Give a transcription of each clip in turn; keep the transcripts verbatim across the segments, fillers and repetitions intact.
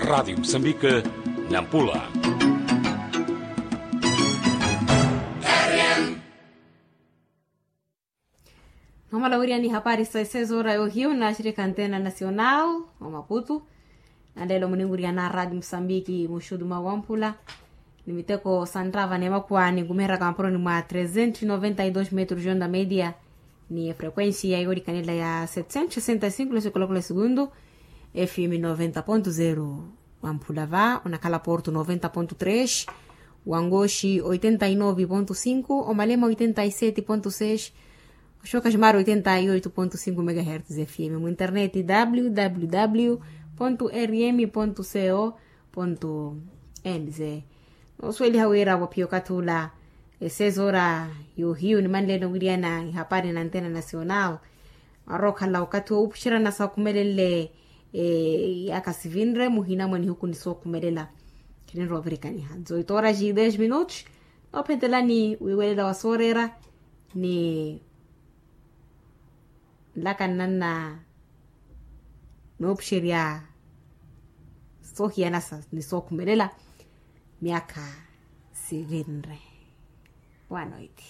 Radi msambika, nampula. Noomala wiriya ni hapari sa esezora yohiyu na shirika antena nasional, omaputu. Nanleelo muninwiriya na radi msambiki muxudu mwa wamphula, ni miteko santrava nemakwa ninkumeraka mapuroni mwa trezentos noventa y dos metros yonda media, ni efrequencia yolikanela ya setcentos sessenta y cinco lesikolokolo esegundu. Fm noventa ponto zero. Wamphula va onakhala porto noventa ponto tres, wangoxi oitenta y nove ponto cinco, omalema oitenta y sete ponto seis, oxoka ximari oitenta y oito ponto cinco megahertz. Fm mu internet www rm co nz. Noosuweliha wira waphiya okathi ula, esezora yohiyu nimanleene owiriyana ihapari na antena nasional. Arookhala okathi woopuxerana sookumelenle, yaaka sivinre muhina mwa nihuku ni sookumelela. Khinenrovirikaniha nzo itoora ji dez minutos. Noophentelani wiiwelela wa sooreera ni nlaka nnanna noopuxerya soohiyanasa ni sookhumelela myaakha sivinre. Wanoiti.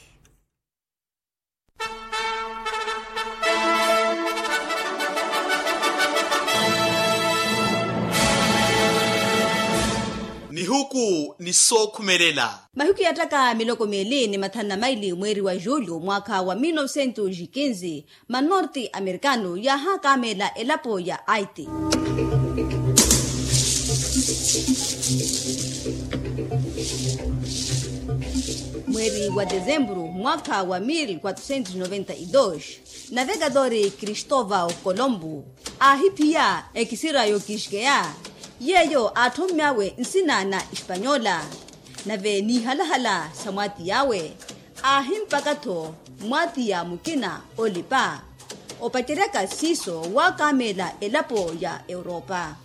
Nihuku ni sookhumelela. Mahiku yaattaka miloko miili ni mathanu na maili mweeri wa julho mwaakha wa mil novecentos e quinze, manorte americano yaahakameela elapo ya aiti. Mweeri wa desemburu mwaakha wa mil quatrocentos noventa y dos, navegadori cristovao colombo aahiphiya ekisira yookixkeya, yeeyo aatthommyawe nsina na espanyola. Nave n'ihalahala sa mwaatiy'awe aahimpaka-tho mwaatiya mukina olipa opaceryaka siiso waakameela elapo ya europa.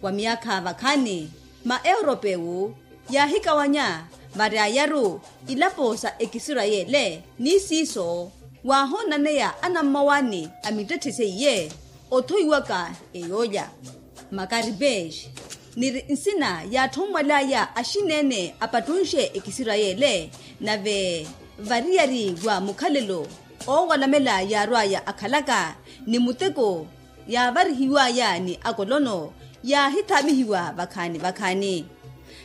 Wa myaakha vakhaani ma europewu yaahikawanya varyayaru ilapo sa ekisirayele ni siiso waahonnaneya anammawaani a mittetthe seiye othoiwaka eyoolya. Makaripes niri nsina yaatthonwal'aya axineene apattunxe ekisirayele. Nave variyari wa mukhalelo oowalamela yaarw'aya akhalaka ni muteko yaavarihiw'aya ni akolono yaahithaamihiwa vakhaani vakhaani.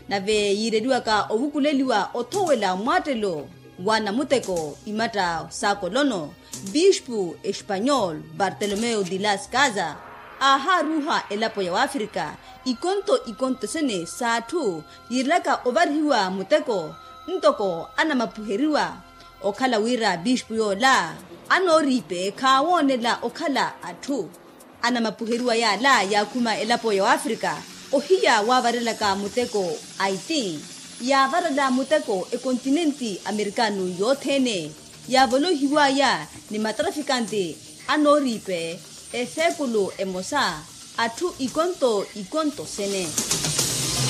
Nave yiireliwaka ovukuleliwa othowela mwaattelo wa namuteko imatta s'akolono, bispu espanyol bartolomeo de las casas aahaaruuha elapo ya wafrika ikonto ikonto sene s'atthu yiirelaka ovarihiwa muteko ntoko anamapuheriwa. Okhala wira bispu yoola anooriipe khaawoonela okhala atthu. Anamapuheriwa yaala yaakhuma elapo ya wafrika ohiya waavarelaka muteko aiti yaavarela muteko ekontinenti amerikano yothene yaavolohiwaya ni matrafikante anooriipe eseekulu emosa atthu ikonto ikonto sene.